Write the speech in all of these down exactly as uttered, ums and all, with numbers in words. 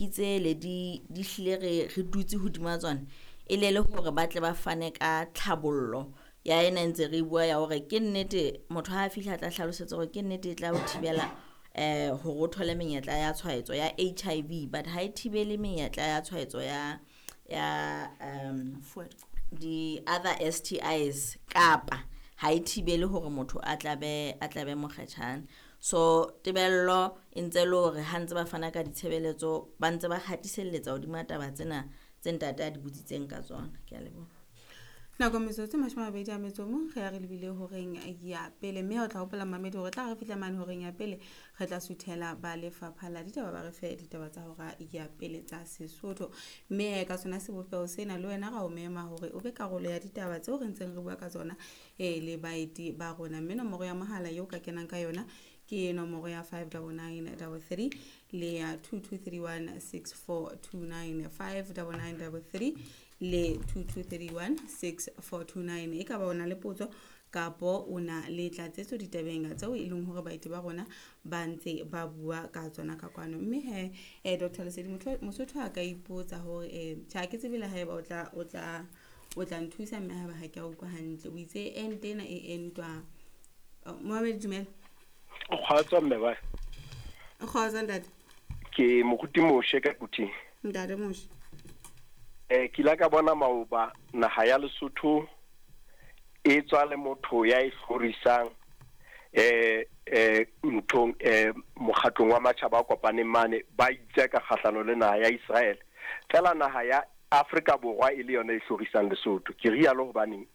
Tsele di di hlile re re dutse hodima tsona e le le hore ba tle ba fane ka tlhabollo ya ena ntse re bua ya hore ke nnete motho ha a fihla a tla hlalosetsa hore ke nnete e tla o thibela eh hore o thole menyetla ya tshwaetso ya H I V, but ha e thibele menyetla ya tshwaetso ya ya um di other S T Is kapa ha e thibele hore motho a tlabe a tlabe mokgetjhane. So tebello e ntse le hore ha ntse ba fana ka ditshebeletso ba ntse ba hatiselletsa hodima taba tsena tse ntate a di botsitseng ka tsona. Ke a leboha. Nako metsotso e mashome a mabedi a metso o mong re ya re lebile horeng ya pele, mme o tla hopola mamedi hore tla re fihla mane horeng ya pele re tla suthela ba lefapha la ditaba ba re fe ditaba tsa hora ya pele tsa Sesotho. Mme ka sona sebopeho sena le wena ra o mema hore o be karolo ya ditaba tseo re ntseng re bua ka tsona e le baeti ba rona. Mme nomoro ya mohala eo ka kenang ka yona ke nomoro ya five double nine double three le ya two two three one six four two nine, five double nine double three le two two three one six four two nine. E ka ba o na le potso kapo o na le tlatsetso ditabeng tseo e leng hore baeti ba rona ba ntse ba bua ka tsona ka kwano. Mme he, eh, Doctor Lesedi, Mosotho a ka ipotsa hore eh, tjhe, ha ke tsebe le haeba o tla, o tla, o tla nthusa mme haeba ha ke a utlwa hantle. O itse ente ena e entwa. Mohammed, dumela. Kgotso mme ba. Kgotso ntate. Ke Moruti Moshe ka Quthing. Ntate Moshe. Eh ke ile ka bona maoba naha ya Lesotho e tswa le motho ya e hlorisang eh eh nthong eh mokgatlong wa matjhaba a kopaneng mane ba itse ka kgahlano le naha ya Israel. Fela naha ya Afrika Borwa e le yona e hlorisang Lesotho. Ke rialo hobaneng?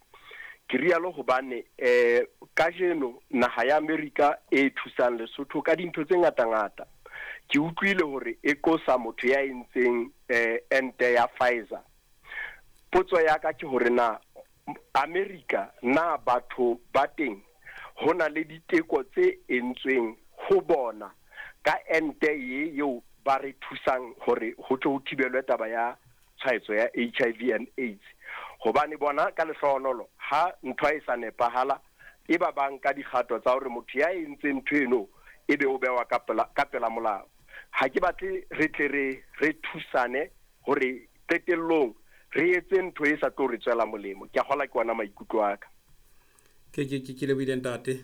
Ke rialo hobane eh kajeno naha ya Amerika e thusang Lesotho ka dintho tse ngata-ngata. Ke utlwile hore e qosa motho ya entseng eh ente ya Pfizer. Potso ya ka ke hore na Amerika na batho ba teng hona le diteko tse entsweng ho bona ka ente ye eo ba re thusang hore ho tle ho thibelwe taba ya tshwaetso ya H I V and AIDS. Hobane bona ka lehlohonolo ha ntho e sa nepahala e ba bang ka dikgato tsa hore motho ya entseng ntho eno e be o bewa ka pela, ka pela molao. Ha ke batle re tle re re thusane hore qetellong re etse ntho e sa tlo re tswela molemo. Ke a kgola ke ona maikutlo a ka. Ke ke ke ke lebohile ntate.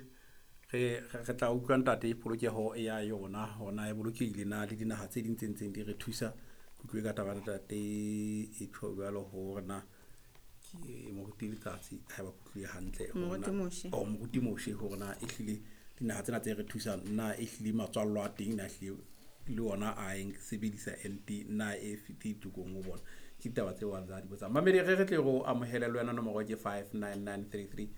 Re re tla utlwa ntate polokeho ya yona hona e bolokehile na le dinaha tse ding tse ntseng di re thusa. Ke utlwe ka taba ntate e tjho jwalo hore na ke Moruti Letsatsi ha ba kutlwe hantle Moruti Moshe. Oh, Moruti Moshe hore na e hlile dinaha tsena tse re thusang na e hlile matswallo a teng na hlile le ona a eng sebedisa N T na e fiti tokong ho bona. Ke ditaba tse wa di botsa. Mamedi re re tle go amohele le wena nomoro ke five nine nine three three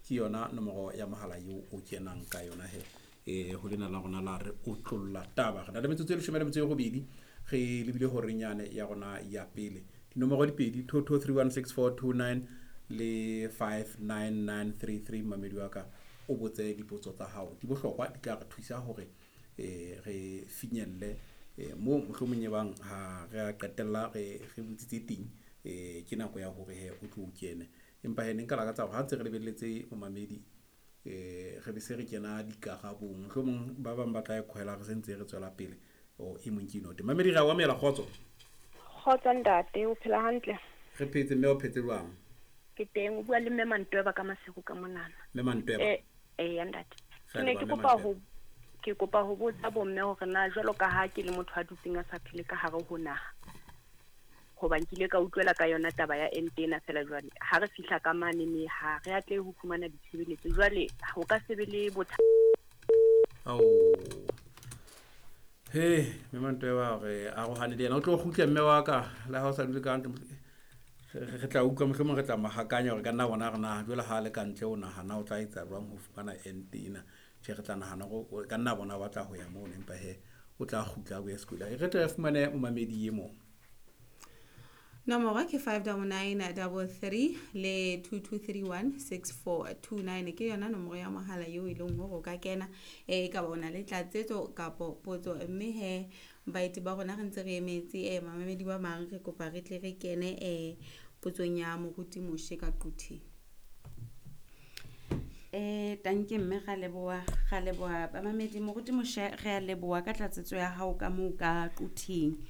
ke yona nomoro ya mohala eo o kenang ka yona he. Eh ho lena la rona la re otlolla taba. Re na le metsotso e leshome le metso e robedi re lebile horeng yane ya rona ya pele. Dinomoro di pedi two two three one six four two nine le five nine nine three three. Mamedi wa ka o botse dipotso tsa hao di bohlokwa di tla re thusa hore eh re finyelle eh mo mohlomong e bang ha re a qetella re re botsitse teng eh ke nako ya hore he o tlo kene. Empa he ne nka lakatsa hore ha ntse re lebelletse momamedi eh re be se re kena dikarabong mohlomong ba bang ba tla e khoela re sentse re tswela pele o e mong ke inote. Mamedi re a o amela kgotso. Kgotso ntate, o phela hantle? Re phetse mme o phetse jwang? Ke teng, o bua le mme Mantweba ka Maseru ka monana. Mme Mantweba. Eh eh ya ntate. Ke ne ke kopa ho ke kopa ho botsa bomme hore na jwalo ka ha ke le motho a dutseng a sa phele ka hare ho naha. Hoba nkile ka utlwela ka yona taba ya ente ena fela jwale. Ha re fihla ka mane me ha re atle ho fumana ditshebeletso. Jwale ho ka se be le bothata. Ao. He, mme Mantweba re arohane le yena. O tlo kgutla mme wa ka le ha o sa dule ka hantle. Re tla utlwa mohlomong re tla mahakanya hore ka nna bona re na jwale ha le ka ntle o nahana o tla etsa jwang ho fumana ente ena. Tjhe, re tla nahana hore ka nna bona ba tla ho ya moo empa he o tla kgutla o ye sekolong. Re tle re fumane momamedi e mong. Nomoro ke five double nine double three le two two three one six four two nine ke yona nomoro ya mohala eo e leng hore o ka kena eh ka bona le tlatsetso kapo potso. Mme he baeti ba rona re ntse re emetse eh mamamedi ba bang re kopa re tle re kene eh potsong ya Moruti Moshe ka Quthing. Eh tanke mme ra leboha, ra leboha bamamedi. Moruti Moshe re a leboha ka tlatsetso ya hao ka moo ka Quthing.